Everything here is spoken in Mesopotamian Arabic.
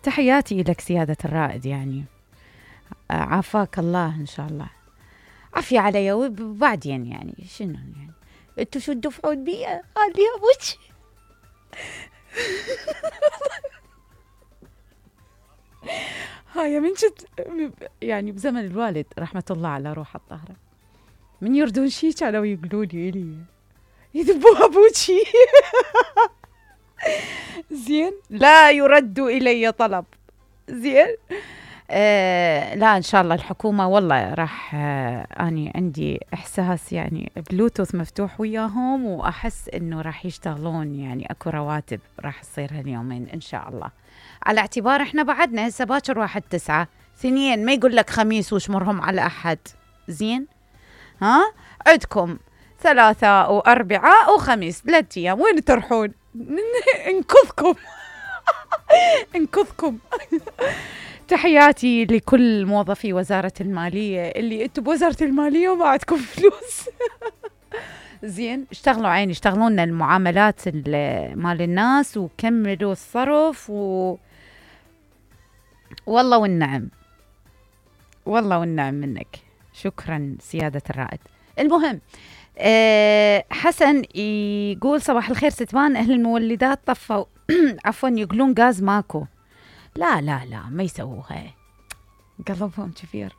تحياتي لك سيادة الرائد، يعني عافاك الله إن شاء الله. عافية علي وبعدين يعني شنو يعني انتوا شو تدفعون بي خليها وش هاي من جد يعني بزمن الوالد رحمة الله على روح الطاهرة، من يردون شي كانوا يقولون لي يذبوها بوجهي. زين لا يرد إلي طلب. زين لا إن شاء الله الحكومة والله راح أني عندي إحساس يعني بلوتوث مفتوح وياهم، وأحس إنه راح يشتغلون، يعني أكو رواتب راح تصير هاليومين إن شاء الله، على اعتبار إحنا بعدنا هسه باكر 1/9 2 ما يقول لك خميس وشمرهم على أحد. زين ها عندكم 3 و4 وخميس 3 أيام، وين تروحون؟ انقذكم. انقذكم. تحياتي لكل موظفي وزارة المالية اللي انتم بوزارة المالية وما عندكم فلوس. زين اشتغلوا عيني، اشتغلوا لنا المعاملات مال الناس وكملوا الصرف والله والنعم، والله والنعم منك. شكرا سيادة الرائد. المهم حسن يقول صباح الخير ستمان، أهل المولدات طفوا عفوا يقولون غاز ماكو. لا لا لا ما يسووها، قلبهم كثير.